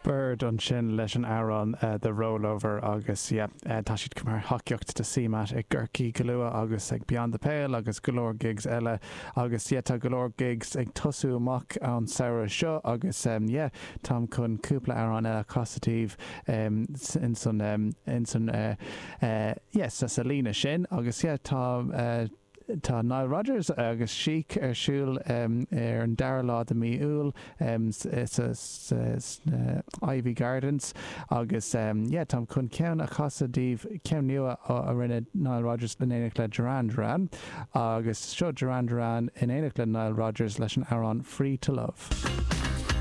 Bird ansin leis an amhrán The Rollover agus yeah tá siad mar thacaíocht do CMAT i gCorcaigh go luath agus ag Beyond the Pale agus go leor gigs eile agus yeah tá go leor gigs ag tosú amach an samhradh seo agus yeah táim chun cúpla amhrán eile a chasadh daoibh insan insan yeah sa sa líne sin agus yeah tá Tá Nile Rodgers agus Chic ar siúl ar an dara lá de mí Iúil sna Iveagh Gardens agus yeah táim chun ceann a chasadh daoibh, ceann nua a rinne Nile Rodgers in éineacht le Duran Duran agus seo Duran Duran in éineacht le Nile Rodgers leis an amhrán Free to Love.